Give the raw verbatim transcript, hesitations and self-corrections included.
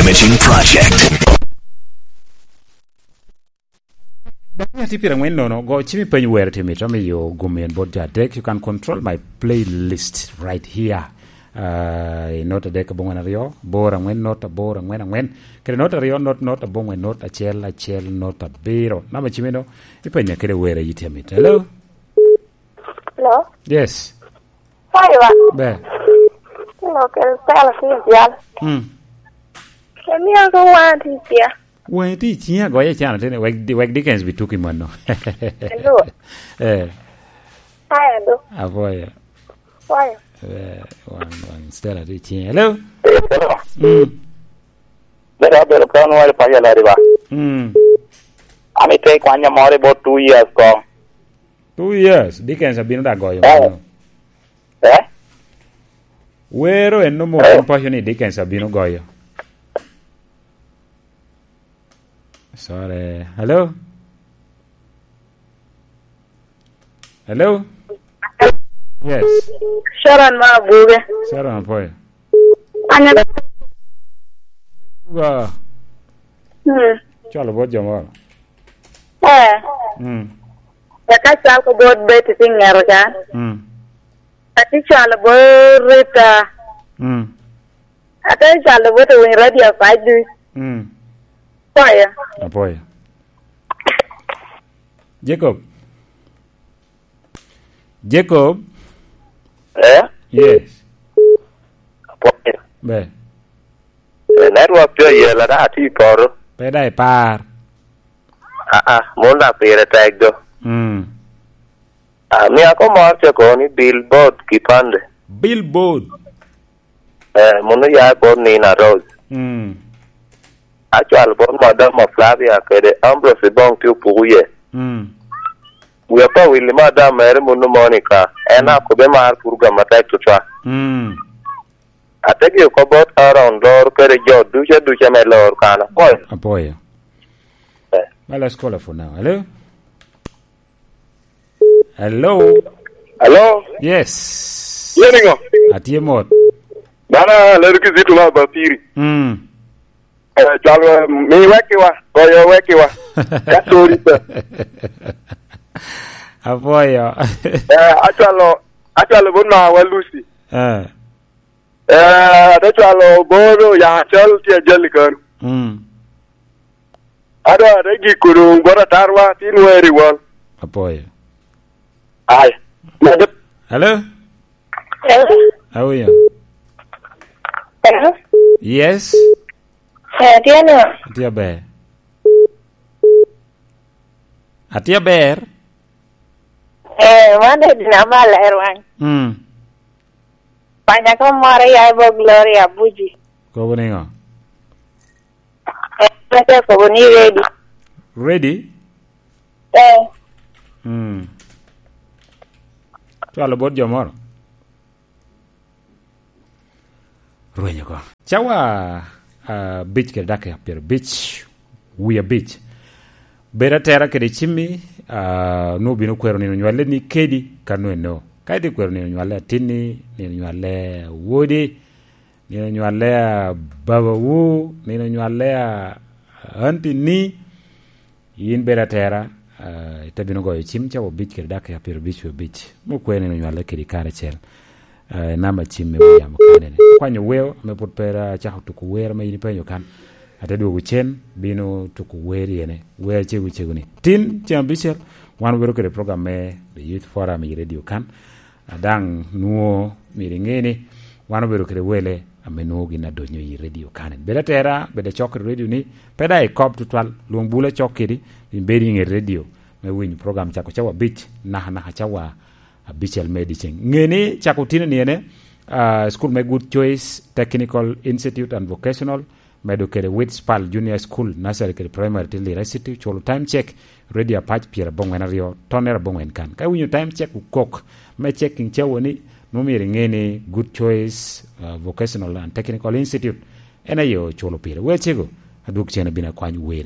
Mission Project. Dano atye pira ngwen nono, go cimi peny wer timi to miyo gum en bot jo adek. You can control my playlist right here. Uh, not adek abongwen aryo, bor angwen not abor angwen angwen. Kede not aryo not not abongwen not acel acel not abiro. Nama cimino, ipenya kede wer a yiti amit. Hello? Hello? Yes. Hi, ba. Be. Hello, kel Stella ki jal. Mm. Emi ako wan ti tia. Wen ti tia goye chana tene, wek, wek Dickens bi tuki mano. Hello. Eh. Hi, hello. Apoya. Hi. Eh, wan, wan Stella ti tia. Hello? Hello. Mm. Bedo abedo kan wari pa yala riba. Mm. Ami te kwanya more about two years ko. Two years, Dickens abino da goyo. Eh. Mano. Eh? Wero en no mo. Eh. Pacho ni Dickens abino goyo. Sorry. Hello? Hello? Yes. Sharon ma Abuge. Sharon apoyo. Anyalo. Wa. Hmm. Cwalo bot jo moro. Eh. Mm. Eka cwal ko bot Betty pi ŋero ca. Mm. Ati cwalo bot Rita. Mm. Ate cwalo bot Winy Radio Padu. Mm. Poyo. Apoyo. Jacob. Jacob. Eh? Yes. Apoyo. Be. Eh, network tye ayela, da atye i poto. Pe da ipar. Aa, mon dak pire tek do. Mm. Ah, mia ko mor ce kono ni Billboard kipande. Billboard. Eh, mon oya bot Nina Rose. Mm. Acwalo bot Madam Flavia kede Ambrose Bong tye opuku ye. Mm. Wia pa Willy Madam mere munu Monica. En, mm, akobe mar pur gam matek tutwa. Mm. Ategi oko bot Aaron lor kede jo ducu aduca me lor kan apoyo. Apoyo. Eh. Well, let's call her for now. Hello? Hello? Hello? Yes. Ye niŋo? Atye mot. Dana lero Kizito ma Bapiri. Mm. Eh, cwalo, mi wekiwa, goyo wekiwa. Ka tori pe. Apoyo. Eh, acwalo, acwalo bot nawa Lucy. Eh. Eh, ate cwalo bot ya cal tye ajali kano. Mm. Ado ate giko doŋ bot atarwa, tin weri wal. Apoyo. Ai. Hello? Hello? How are you? Hello? Yes. Eh, tye no. Atye aber. Atye aber. Eh, man de dina mal er wang. Mm. Panya ko moro ya bo Gloria Buji. Kobo niŋo? Eh, mete kobo ni ready. Ready? Eh. Mm. Cwalo bot jo moro. Rweny oko. Cawa, ah, abic kede dakika pyerabic wie abic. Bed atera kede cimmi, ah, nwoŋo bino kwero nino nywalli ni kedi ka nwoŋo eno. Ka itye kwero nino nywalli atinni, nino nywalli awodi, nino nywalli a babawu, nino nywalli a anti-ni, yin bed atera, ah, ite bino goyo cim cawa abic kede dakika pyerabic wie abic. Mukwe nino nywalli kedi karacel. Eh, namba cim me William Kanene. Kwanyo weo ame pwod pe acako tuko wer ame in ipenyo kan. Ate dwogo cen, bino tuko wer yene. Wer cego cego ni. Tin ceng abicel, wan obedo kede program me The Youth Forum i radio kan. A daŋ nwoŋo myero iŋe ni wan obedo kede wele ame nwoŋo gin adonyo i radio kan. Bed atera, bed acok i radio ni, pe daŋ ikop tutwal, lwong bula cok kedi, in bed i ŋet radio me winyo program cako cawa abic, naka naka cawa abicel me dyeceŋ. Ŋe ni cako tino ni ene, ah, school me Good Choice Technical Institute and Vocational, medo kede Witspal Junior School, Nursery kede Primary, tye Lira City, culo time check, radio apac pyeraboŋwen aryo, tonner aboŋwen kan. Ka iwinyo time check okok, me checking cawa ni, nwoŋo myero iŋe ni Good Choice, ah, Vocational and Technical Institute, en aye oculo pire. Wecego, adwog cen abino akwany wer.